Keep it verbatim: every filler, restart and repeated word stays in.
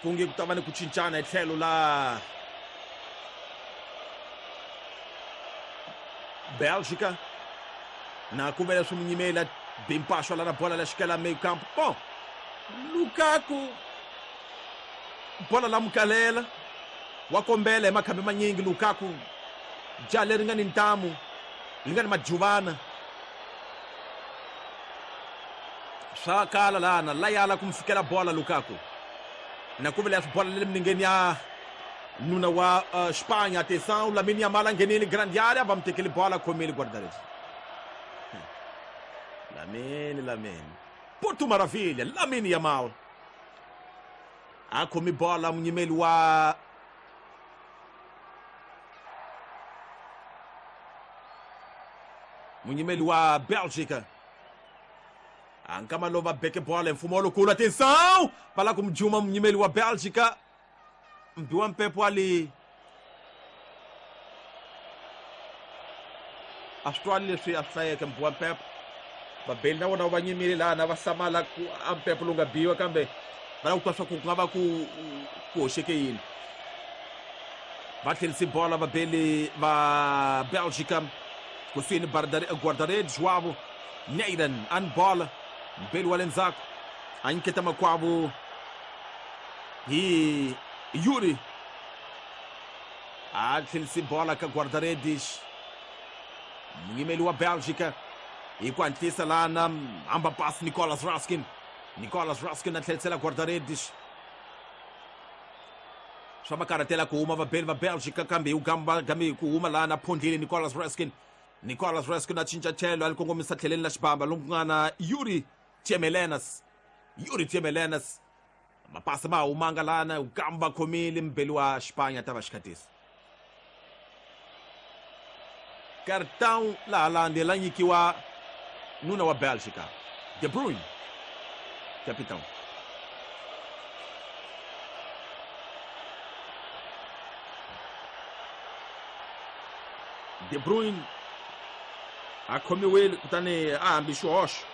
Kunge ku ta va ni ku cincana hi tlhelo la Bélgica na ku vela swi munyimela bimpaxo la na bola la xikela meio campo. Bom, Lukaku bola la mukalela wa kombela hi makhambi manyingi. Lukaku ja leri nga ni ntamu li nga ni majuvana swa kala lana la yala ku mu fikela bola Lukaku na ku vela swi bola le minengeni ya nuna wa uh, Espanha. Atenção, Lamine Yamal nghenile grande área, va mu tekele bola, khomile guarda-redes. Lamine, Lamine. Porto Maravilha, Lamine Yamal. A khomi bola munyimeli wa munyimeli wa Bélgica. Ankama lova beke bola mfumo lowukulu. Atenção, va la ku mujuma munyimeli wa Bélgica. Mbiwa mpepo ali a swi twali leswi a swi hlayeke mbiwa mpepo. Vabeli na vona va nyimile laha va hlamala ku a mpepo lowu nga biwa, kambe va lava ku twa swa ku ku nga va ku ku hoxeke yini. Va tlherise bola vabeli va Bélgica kusuhi ni guarda-redes wavo Neiran an bola mbeli wa le ndzhaku a nyiketa makwavo hi Yuri a tlherise bola ka guarda-redes munyimeli wa Bélgica hi ku hatlisa lana hamba pasi Nicolas Raskin. Nicolas Raskin a tlherisela guarda-redes swa va karhatela ku huma vabeli va Bélgica, kambe hi gamba kambe ku huma lana phondlile Nicolas Raskin. Nicolas Raskin a cinca tlhelo a li kongomisa tlheleni la xibamba lomu ku nga na Yuri Tielemans. Yuri Tielemans mapasi ma humanga lana gamba khomile mbeli wa Espanha ta va xikhatisa. Cartão la Holanda la nyikiwa nuna wa Bélgica De Bruyne capitão. De Bruyne a khomiwile kutani a hambi xihoxo.